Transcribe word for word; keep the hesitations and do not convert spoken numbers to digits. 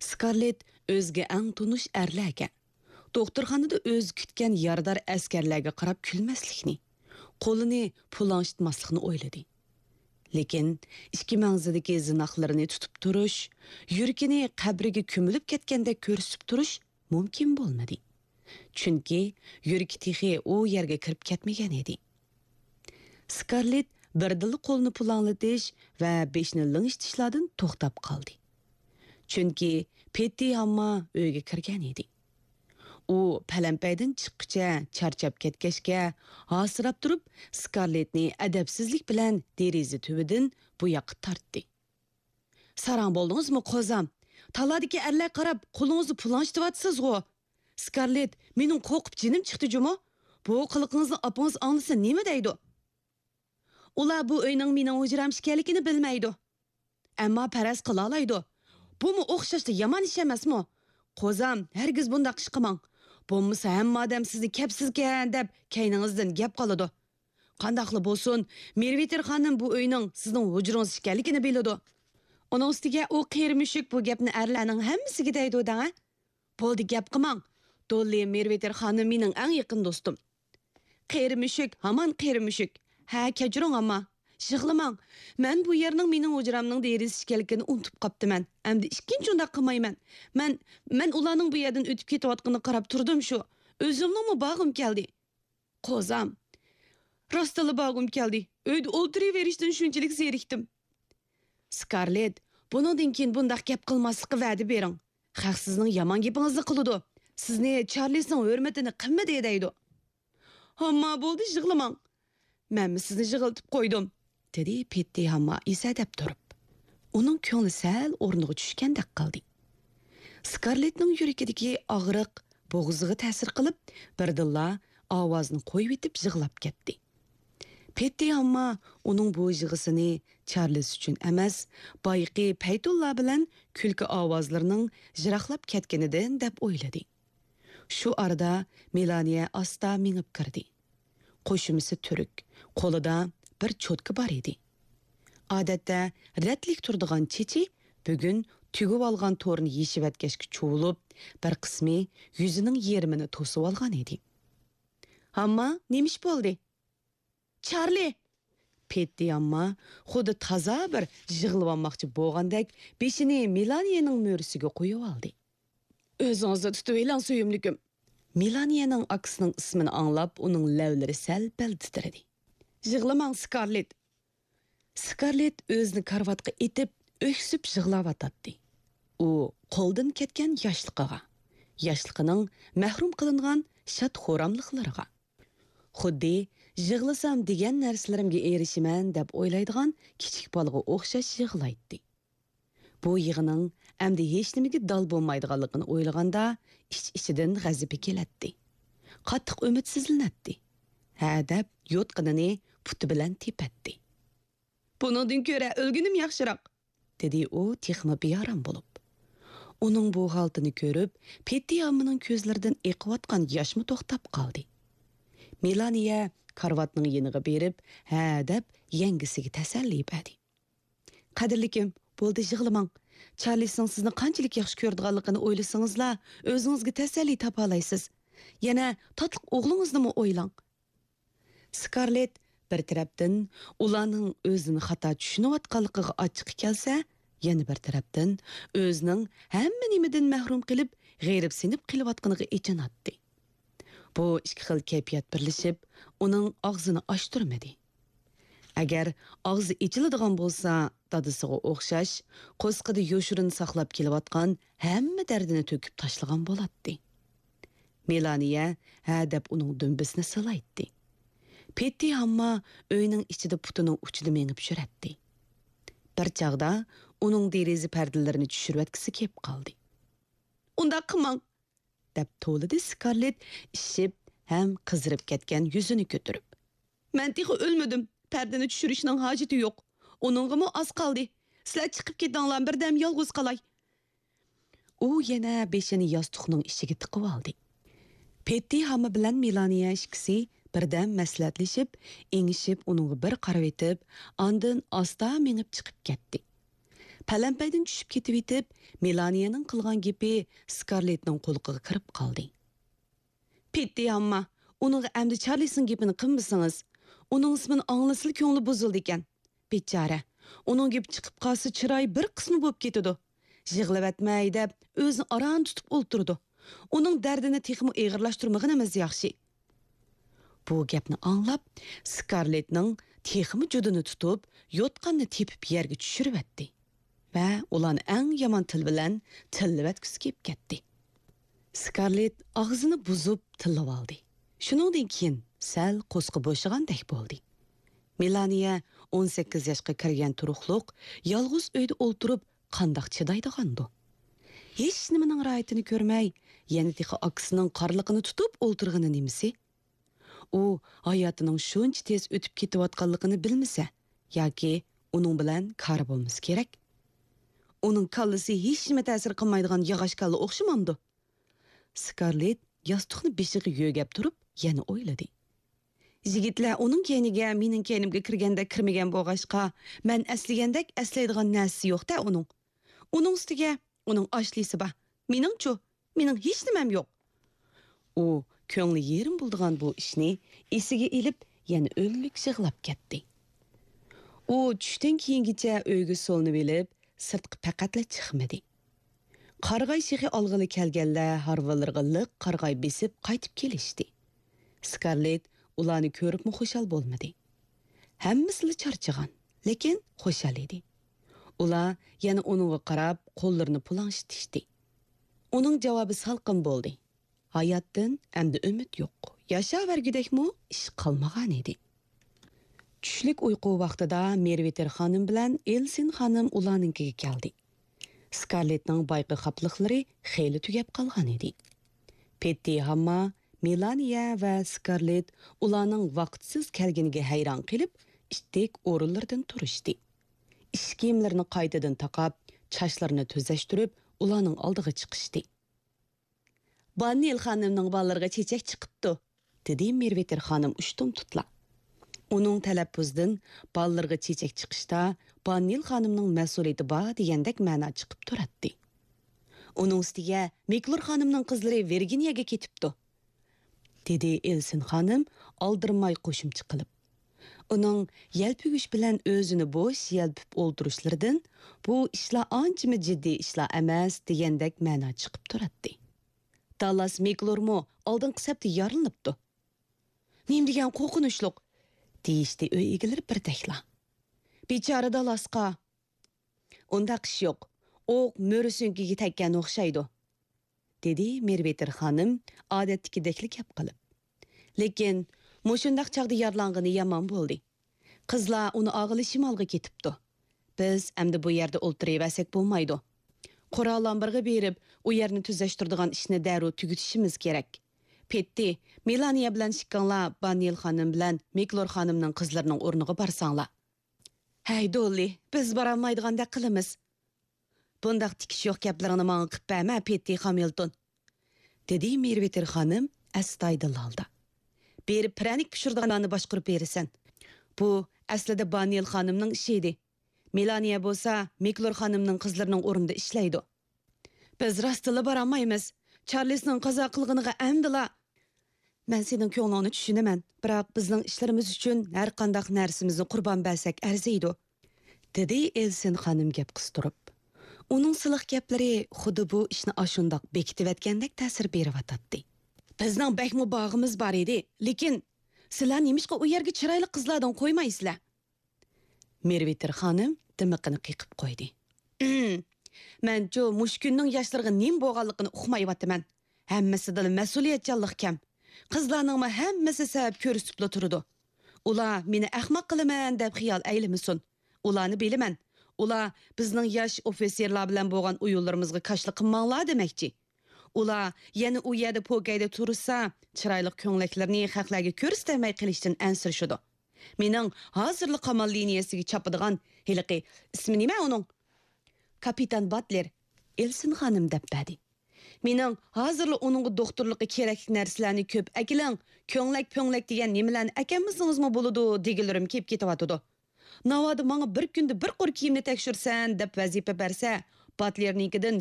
سكارلېت ئۆزىگە ئەڭ تونۇش ئەرلەرگە، دوختۇرخانىدا ئۆزى كۈتكەن يارىدار ئەسكەرلەرگە قاراپ كۈلمەسلىكنى، قولىنى پۇلاڭشىتماسلىقنى ئويلىدى. لېكىن ئىككى مەڭزىدىكى زىناقلىرىنى تۇتۇپ تۇرۇش، يۈرىكىنى قەبرىگە كۆمۈلۈپ كەتكەندەك كۆرسىتىپ تۇرۇش مۇمكىن بولمىدى. چۈنكى يۈرىكى تېخى ئۇ يەرگە كىرىپ كەتمىگەن ئىدى. سكارلېت بىردىنلا قولىنى پۇلاڭلىتىش ۋە بېشىنى لىڭشىتىشلاردىن توختاپ قالدى. چۈنكى پېتتى ھامما ئۆيگە كىرگەن ئىدى. ئۇ پەلەمپەيدىن چىققىچە چارچاپ كەتكەچكە، ھاسىراپ تۇرۇپ، سكارلېتنى ئەدەپسىزلىك بىلەن دېرىزە تۈۋىدىن بۇ ياققا تارتتى. ساراڭ بولدىڭىزمۇ، قوزام؟ تالادىكى ئەرلەرگە قاراپ قولىڭىزنى پۇلاڭشىتىۋاتىسىزغۇ؟ سكارلېت، مېنىڭ قورقۇپ جېنىم چىقتى جۇمۇ. بۇ قىلىقىڭىزنى ئاپىڭىز ئاڭلىسا نېمە دەيدۇ؟ ئۇلار بۇ ئۆينىڭ مېنىڭ ھۇجرام ئىكەنلىكىنى بىلمەيدۇ. ئەمما پەرەز قىلالايدۇ. بۇمۇ ئوخشاشلا يامان ئىش ئەمەسمۇ؟ قوزام، ھەرگىز بۇنداق ئىش قىلماڭ. بولمىسا ھەممە ئادەم سىزنى كەپسىزكەن دەپ كەينىڭىزدىن گەپ قىلىدۇ. قانداقلا بولسۇن، مېرۋېتېر خانىم بۇ ئۆينىڭ سىزنىڭ ھۇجرىڭىز ئىكەنلىكىنى بىلىدۇ. ئۇنىڭ ئۈستىگە ئۇ قېرى مۈشۈك بۇ گەپنى ئەرلەرنىڭ ھەممىسىگە دەيدۇ دەڭە. بولدى، گەپ قىلماڭ. دوللى مېرۋېتېر خانىم مېنىڭ ئەڭ يېقىن دوستۇم. قېرى مۈشۈك، ھامان قېرى مۈشۈك. ھە، كەچۈرۈڭ ئەمما. يىغلىماڭ. مەن بۇ يەرنىڭ مېنىڭ ھۇجرامنىڭ دېرىزىسى ئىكەنلىكىنى ئۇنتۇپ قاپتىمەن. ئەمدى ئىككىنچى ئۇنداق قىلمايمەن. مەن، مەن ئۇلارنىڭ بۇ يەردىن ئۆتۈپ كېتىۋاتقىنىغا قاراپ تۇردۇم شۇ. ئۆزۈمنىڭمۇ بارغۇم كەلدى. قوزام. راستتىنلا بارغۇم كەلدى. ئۆيدە ئولتۇرۇۋېرىشتىن شۇنچىلىك زېرىكتىم. سكارلېت، بۇنىڭدىن كېيىن بۇنداق گەپ قىلماسلىققا ۋەدە بېرىڭ. خەق سىزنىڭ يامان گېپىڭىزنى قىلىدۇ. سىزنى چارلىسنىڭ ھۆرمىتىنى قىلمىدى دەيدۇ. ھامما، بولدى، يىغلىماڭ. مەنمۇ سىزنى يىغلىتىپ قويدۇم، دېدى پېتتى ھامما ئېسەدەپ تۇرۇپ. ئۇنىڭ كۆڭلى سەل ئورنىغا چۈشكەندەك قىلدى. سكارلېتنىڭ يۈرىكىدىكى ئاغرىق بوغۇزىغا تەسىر قىلىپ، بىردىنلا ئاۋازىنى قويۇۋېتىپ يىغلاپ كەتتى. پېتتى ھامما ئۇنىڭ بۇ يىغىسىنى چارلىس ئۈچۈن ئەمەس، بايىقى پەيتۇللا بىلەن كۈلكە ئاۋازلىرىنىڭ يىراقلاپ كەتكىنىدىن دەپ ئويلىدى. شۇ ئارىدا مېلانىيە ئاستا مېڭىپ كىردى. قوشۇمىسى تۈرۈك، قولىدا بىر چوتكا بار ئىدى. ئادەتتە رەتلىك تۇرىدىغان چېچى بۈگۈن تۈگۈۋالغان تورنى يېشىۋەتكەچكە چۇۋۇلۇپ، بىر قىسمى يۈزىنىڭ يېرىمىنى توسۇۋالغان ئىدى. ھامما، نېمە ئىش بولدى؟ چارلى! پېتتى ھامما خۇددى تازا بىر يىغلىۋالماقچى بولغاندەك بېشىنى مېلانىيەنىڭ مۈرىسىگە قويۇۋالدى. ئۆزىڭىزنى تۇتۇۋېلىڭ، سۆيۈملۈكۈم. مېلانىيەنىڭ ئاكىسىنىڭ ئىسمىنى ئاڭلاپ، ئۇنىڭ لەۋلىرى سەل-پەل تىترىدى. يىغلىماڭ، سكارلېت. سكارلېت ئۆزىنى كارىۋاتقا ئېتىپ، ئۆكسۈپ يىغلاۋاتاتتى. ئۇ قولدىن كەتكەن ياشلىقىغا، ياشلىقىنىڭ مەھرۇم قىلىنغان شاد-خۇراملىقلىرىغا، خۇددى يىغلىسام دېگەن نەرسىلىرىمگە ئېرىشىمەن دەپ ئويلايدىغان كىچىك بالىغا ئوخشاش يىغلايتتى. بۇ يىغىنىڭ ئەمدى ھېچنېمىگە دال بولمايدىغانلىقىنى ئويلىغاندا، ئىچ-ئىچىدىن غەزىپى كېلەتتى. قاتتىق ئۈمىدسىزلىنەتتى. ھە دەپ يوتقىنىنى پۇتى بىلەن تېپەتتى. بۇنىڭدىن كۆرە ئۆلگىنىم ياخشىراق، دېدى ئۇ تېخىمۇ بىئارام بولۇپ. ئۇنىڭ بۇ ھالىتىنى كۆرۈپ، پېتتى ھاممىنىڭ كۆزلىرىدىن ئېقىۋاتقان ياشمۇ توختاپ قالدى. مېلانىيە كارىۋاتنىڭ يېنىغا بېرىپ، ھە دەپ يەڭگىسىگە تەسەللى بەردى. قەدىرلىكىم، بولدى، يىغلىماڭ. چارلىسنىڭ سىزنى قانچىلىك ياخشى كۆرىدىغانلىقىنى ئويلىسىڭىزلا، ئۆزىڭىزگە تەسەللى تاپالايسىز. يەنە تاتلىق ئوغلىڭىزنىمۇ ئويلاڭ. سكارلېت بىر تەرەپتىن ئۇلارنىڭ ئۆزىنى خاتا چۈشىنىۋاتقانلىقىغا ئاچچىقى كەلسە، يەنە بىر تەرەپتىن ئۆزىنىڭ ھەممە نېمىدىن مەھرۇم قېلىپ، غېرىبسىنىپ قېلىۋاتقىنىغا ئېچىناتتى. بۇ ئىككى خىل كەيپىيات بىرلىشىپ، ئۇنىڭ ئاغزىنى ئاچتۇرمىدى. ئەگەر ئاغزى ئېچىلىدىغان بولسا، دادىسىغا ئوخشاش، قورسىقىدا يوشۇرۇن ساقلاپ كېلىۋاتقان ھەممە دەردىنى تۆكۈپ تاشلىغان بولاتتى. مېلانىيە ھە دەپ ئۇنىڭ دۈمبىسىنى سىلايتتى. پېتتى ھامما ئۆينىڭ ئىچىدە پۇتىنىڭ ئۇچىدا مېڭىپ يۈرەتتى. بىر چاغدا ئۇنىڭ دېرىزە پەردىلىرىنى چۈشۈرۈۋەتكۈسى كېلىپ قالدى. ئۇنداق قىلماڭ! دەپ توۋلىدى سكارلېت ئىششىپ ھەم قىزىرىپ كەتكەن يۈزىنى كۆتۈرۈپ. مەن تېخى ئۆلمىدىم، پەردىنى چۈشۈرۈشنىڭ ھاجىتى يوق. ئۇنىڭغىمۇ ئاز قالدى. سىلەر چىقىپ كېتىڭلار، بىردەم يالغۇز قالاي. ئۇ يەنە بېشىنى ياستۇقنىڭ ئىچىگە تىقىۋالدى. پېتتى ھامما بىلەن مېلانىيە ئىككىسى بىردەم مەسلىھەتلىشىپ، ئېڭىشىپ ئۇنىڭغا بىر قارىۋېتىپ، ئاندىن ئاستا مېڭىپ چىقىپ كەتتى. پەلەمپەيدىن چۈشۈپ كېتىۋېتىپ، مېلانىيەنىڭ قىلغان گېپى سكارلېتنىڭ قۇلىقىغا كىرىپ قالدى. پېتتى ھامما، ئۇنىڭغا ئەمدى چارلىسنىڭ گېپىنى قىلمىسىڭىز، ئۇنىڭ ئىسمىنى ئاڭلىسىلا كۆڭلى بۇزۇلىدىكەن. بىچارە، ئۇنىڭ گېپى چىقىپ قالسا چىرايى بىر قىسما بولۇپ كېتىدۇ. يىغلىۋەتمەي دەپ ئۆزىنى ئاران تۇتۇپ ئولتۇرىدۇ. ئۇنىڭ دەردىنى تېخىمۇ ئېغىرلاشتۇرمىغىنىمىز ياخشى. بۇ گەپنى ئاڭلاپ، سكارلېتنىڭ تېخىمۇ جۇدىنى تۇتۇپ، يوتقاننى تېپىپ يەرگە چۈشۈرۈۋەتتى ۋە ئۇلارنى ئەڭ يامان تىل بىلەن تىللىۋەتكۈسى كېلىپ كەتتى. سكارلېت ئاغزىنى بۇزۇپ تىللىۋالدى. شۇنىڭدىن كېيىن سەل قورسىقى بوشىغاندەك بولدى. مېلانىيە ئون سەككىز ياشقا كىرگەن تۇرۇقلۇق، يالغۇز ئۆيدە ئولتۇرۇپ قانداق چىدايدىغاندۇ؟ ھېچنېمىنىڭ راھىتىنى كۆرمەي، يەنە تېخى ئاكىسىنىڭ قارلىقىنى تۇتۇپ ئولتۇرغىنى نېمىسى؟ ئۇ ھاياتىنىڭ شۇنچە تېز ئۆتۈپ كېتىۋاتقانلىقىنى بىلمىسە، ياكى ئۇنىڭ بىلەن كارى بولمىسا كېرەك. ئۇنىڭ كاللىسى ھېچنېمە تەسىر قىلمايدىغان ياغاچ كاللا ئوخشىمامدۇ؟ سكارلېت ياستۇقنى بېشىغا يۆگەپ تۇرۇپ يەنە ئويلىدى. يىگىتلەر ئۇنىڭ كەينىگە مېنىڭ كەينىمگە كىرگەندەك كىرمىگەن بولغاچقا، مەن ئەسلىگەندەك ئەسلەيدىغان نەرسىسى يوق-دە ئۇنىڭ. ئۇنىڭ ئۈستىگە ئۇنىڭ ئاشلىسى بار. مېنىڭچۇ؟ مېنىڭ ھېچنېمەم يوق. ئۇ كۆڭلى يېرىم بولىدىغان بۇ ئىشنى ئېسىگە ئېلىپ، يەنە ئۆلۈك يىغلاپ كەتتى. ئۇ چۈشتىن كېيىنگىچە ئۆيگە سولىنىۋېلىپ، سىرتقا پەقەتلا چىقمىدى. قارىغاي شېخى ئالغىلى كەلگەنلەر ھارۋىلىرىغا لىق قارىغاي بېسىپ قايتىپ كېلىشتى. سكارلېت ئۇلارنى كۆرۈپمۇ خۇشال بولمىدى. ھەممىسىلا چارچىغان، لېكىن خۇشال ئىدى. ئۇلار يەنە ئۇنىڭغا قاراپ قوللىرىنى پۇلاڭشىتىشتى. ئۇنىڭ جاۋابى سالقىن بولدى. ھاياتتىن ئەمدى ئۈمىد يوق. ياشاۋەرگۈدەكمۇ ئىش قالمىغانىدى. چۈشلۈك ئۇيقۇ ۋاقتىدا مېرۋېتېر خانىم بىلەن ئېلسىن خانىم ئۇلارنىڭكىگە كەلدى. سكارلېتنىڭ بايىقى خاپىلىقلىرى خېلى تۈگەپ قالغانىدى. پېتتى ھامما، مېلانىيە ۋە سكارلېت ئۇلارنىڭ ۋاقىتسىز كەلگىنىگە ھەيران قېلىپ، ئىتتىك ئورۇنلىرىدىن تۇرۇشتى. ئىش كىيىملىرىنى قايتىدىن تاقاپ، چاچلىرىنى تۈزەشتۈرۈپ، ئۇلارنىڭ ئالدىغا چىقىشتى. باننىل خانىمنىڭ بالىلىرىغا چېچەك چىقىپتۇ، دېدى مېرۋېتېر خانىم ئۇشتۇمتۇتلا. ئۇنىڭ تەلەپپۇزىدىن بالىلىرىغا چېچەك چىقىشتا باننىل خانىمنىڭ مەسئۇلىيىتى بار دېگەندەك مەنا چىقىپ تۇراتتى. ئۇنىڭ ئۈستىگە مىكلور خانىمنىڭ قىزلىرى ۋىرگىنىيەگە كېتىپتۇ، دېدى ئېلسىن خانىم ئالدىرىماي قوشۇمچە قىلىپ. ئۇنىڭ يەلپۈگۈچ بىلەن ئۆزىنى بوش يەلپۈپ ئولتۇرۇشلىرىدىن بۇ ئىشلار ئانچىمۇ جىددىي ئىشلار ئەمەس دېگەندەك مەنا چىقىپ تۇراتتى. دالاس مىكلورمۇ ئالدىنقى سەپتە يارىلىنىپتۇ. نېمە دېگەن قورقۇنچلۇق! دېيىشتى ئۆي ئىگىلىرى بىردەكلا. بىچارە دالاسقا! ئۇنداق ئىش يوق. ئوق مۈرە سۆڭىكىگە تەگكەن ئوخشايدۇ، دېدى مېرۋېتېر خانىم ئادەتتىكىدەكلا گەپ قىلىپ. لېكىن مۇشۇنداق چاغدا يارىلانغىنى يامان بولدى. قىزلار ئۇنى ئالغىلى شىمالغا كېتىپتۇ. بىز ئەمدى بۇ يەردە ئولتۇرۇۋەرسەك بولمايدۇ. قورال ئامبىرىغا بېرىپ، ئۇ يەرنى تۈزەشتۈرىدىغان ئىشنى دەررۇ تۈگىتىشىمىز كېرەك. پېتتى، مېلانىيە بىلەن ئىككىڭلار باننىل خانىم بىلەن مىكلور خانىمنىڭ قىزلىرىنىڭ ئورنىغا بارساڭلار. ھەي، دوللى، بىز بارالمايدىغاندەك قىلىمىز. بۇنداق تىكىشى يوق گەپلىرىڭنى ماڭا قىپ بەرمە، پېتتى خامىلتون، دېدى مېرۋېتېر خانىم ئەستايىدىل ھالدا. بېرىپ پىرەنىك پىشۇرىدىغانلارنى باشقۇرۇپ بېرىسەن. بۇ ئەسلىدە باننىل خانىمنىڭ ئىشى ئىدى. مېلانىيە بولسا مىكلور خانىمنىڭ قىزلىرىنىڭ ئورنىدا ئىشلەيدۇ. بىز راستتىنلا بارالمايمىز. چارلىسنىڭ قازا قىلغىنىغا ئەمدىلا. مەن سېنىڭ كۆڭلۈڭنى چۈشىنىمەن، بىراق بىزنىڭ ئىشلىرىمىز ئۈچۈن ھەرقانداق نەرسىمىزنى قۇربان بەرسەك ئەرزىيدۇ، دېدى ئېلسىن خانىم گەپ قىستۇرۇپ. ئۇنىڭ سىلىق گەپلىرى خۇددى بۇ ئىشنى ئاشۇنداق بېكىتىۋەتكەندەك تەسىر بېرىۋاتاتتى. بىزنىڭ بەكمۇ باغىمىز بار ئىدى، لېكىن سىلەر نېمىشقا ئۇ يەرگە چىرايلىق قىزلاردىن قويمايسىلەر؟ مېرۋېتېر خانىم دىمىقىنى قېقىپ قويدى. ئىم، مەنچۇ مۇشۇ كۈننىڭ ياشلىرىغا نېمە بولغانلىقىنى ئۇقمايۋاتىمەن. ھەممىسىدىلا مەسئۇلىيەتچانلىق كەم. قىزلارنىڭمۇ ھەممىسى سەۋەب كۆرسىتىپلا تۇرىدۇ. ئۇلار مېنى ئەخمەق قىلىمەن دەپ خىيال ئەيلىمىسۇن. ئۇلارنى بىلىمەن. ئۇلار بىزنىڭ ياش ئوفىتسېرلار بىلەن بولغان ئويۇنلىرىمىزغا كاشىلا قىلماڭلار دېمەكچى. ئۇلار يەنە ئۇ يەردە پوكەيدە تۇرسا، چىرايلىق كۆڭلەكلىرىنى خەقلەرگە كۆرسىتەلمەي قېلىشتىن ئەنسىرىشىدۇ. مېنىڭ ھازىرلا قامال لىنىيەسىگە چاپىدىغان ھېلىقى، ئىسمى نېمە ئۇنىڭ؟ كاپىتان باتلېر، ئېلسىن خانىم دەپ بەردى. مېنىڭ ھازىرلا ئۇنىڭغا دوختۇرلۇققا كېرەكلىك نەرسىلەرنى كۆپ ئەكېلىڭ، كۆڭلەك-پۆڭلەك دېگەن نېمىلەرنى ئەكەلمىسىڭىزمۇ بولىدۇ دېگۈلىرىم كېلىپ كېتىۋاتىدۇ. ناۋادا ماڭا بىر كۈندە بىر قۇر كىيىمنى تەكشۈرسەن دەپ ۋەزىپە بەرسە، باتلېرنىڭكىدىن